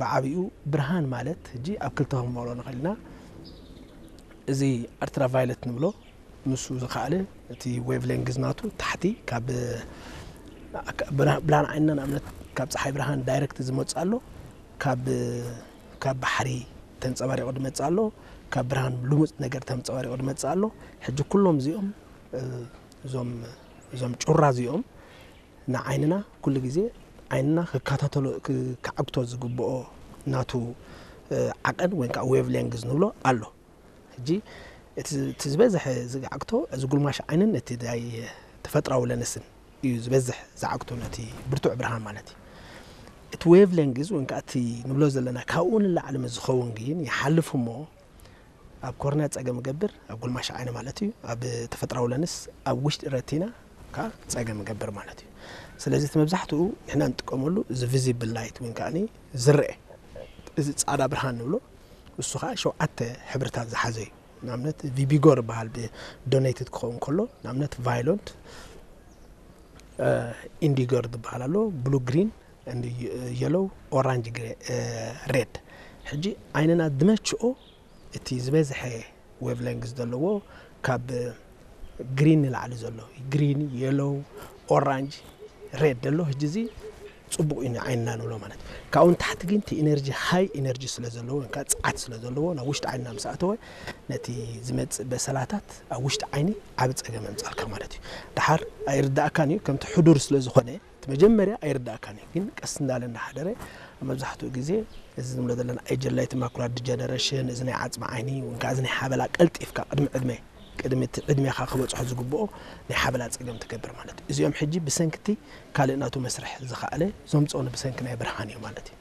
ብዓብኡ ብርሃን ማለት ሕጂ ኣብ ክልተ ክንመቕሎ ንኽእል ኢና። እዚ ኣልትራቫይለት ንብሎ፣ ንሱ ዝኸኣለ እቲ ዌቭ ሌንግዝ ናቱ ታሕቲ ካብ ብርሃን ዓይንና ንኣብነት ካብ ፀሓይ ብርሃን ዳይረክት ዝመፅእ ኣሎ፣ ካብ ባሕሪ ተንፀባሪቑ ዝመፅእ ኣሎ፣ ካብ ብርሃን ልሙፅ ነገር ተንፀባሪቑ ዝመፅእ ኣሎ። ሕጂ ኩሎም እዚኦም እዞም ጩራ እዚኦም ንዓይንና ኩሉ ግዜ ዓይንና ክከታተሎ ክዓግቶ ዝግብኦ ናቱ ዓቐን ወይ ከዓ ዌቭ ሌንግዝ ንብሎ ኣሎ። ሕጂ እቲ ዝበዝሐ ዝዓግቶ እዚ ጉልማሽ ዓይንን እቲ ተፈጥራዊ ለንስን እዩ ዝበዝሕ ዝዓግቶ ነቲ ብርቱዕ ብርሃን ማለት እዩ። እቲ ዌቭ ሌንግዝ ወይ ከዓ እቲ ንብሎ ዘለና ካብኡ ንላዕሊ ምስ ዝኸውን ግን ይሓልፍ እሞ ኣብ ኮርንያ ፀገም ይገብር፣ ኣብ ጉልማሽ ዓይኒ ማለት እዩ። ኣብ ተፈጥራዊ ለንስ ኣብ ውሽጢ ረቲና ከዓ ፀገም ይገብር ማለት እዩ። ስለዚ እቲ መብዛሕትኡ ንሕና ንጥቀመሉ እዚ ቪዚብል ላይት ወይ ከዓ ዝረአ እዚ ፃዕዳ ብርሃን ንብሎ እሱ ከዓ ሸውዓተ ሕብርታት ዝሓዘ እዩ። ንኣብነት ቪቢጎ ዝበሃል ዶኔትድ ክኸውን ከሎ ንኣብነት ቫዮለንት ኢንዲጎ ዝበሃል ኣሎ፣ ብሉ ግሪን የሎው ኦራንጅ ሬድ። ሕጂ ዓይንና ዝመችኦ እቲ ዝበዝሐ ዌቭ ሌንግዝ ዘለዎ ካብ ግሪን ንላዕሊ ዘሎ ግሪን የሎው ኦራንጅ ሬድ ዘሎ ሕጂ እዚ ፅቡቕ እዩ ንዓይንና ንብሎ ማለት እዩ። ካብኡ ንታሕቲ ግን እቲ ኢነርጂ ሃይ ኢነርጂ ስለ ዘለዎ ወይ ከዓ ፀዓት ስለ ዘለዎ ናብ ውሽጢ ዓይንና ምስ ኣተወ ነቲ ዝመፅእ በሰላታት ኣብ ውሽጢ ዓይኒ ዓብ ፀገም የምፃልካ ማለት እዩ። ድሓር ኣይርዳእካን እዩ ከምቲ ሕዱር ስለ ዝኾነ እቲ መጀመርያ ኣይርዳእካን እዩ ግን ቀስ እንዳለ እንዳሓደረ ኣብ መብዛሕትኡ ግዜ እዚ ዝምሎ ዘለና ኤጀላይት ማኩላር ዲጀነሬሽን እዚ ናይ ዓፅሚ ዓይኒ ወይ ከዓ እዚ ናይ ሓበላ ቀልጢፍካ ቅድሚ ዕድመ ቅድሚ እቲ ዕድሜኻ ክበፅሖ ዝግብኦ ናይ ሓበላ ፀገም ትገብር ማለት እዩ። እዚኦም ሕጂ ብሰንክቲ ካልእ ናቱ መስርሕ ዝኸኣለ ዘምፅኦ ብሰንኪ ናይ ብርሃን እዩ ማለት እዩ።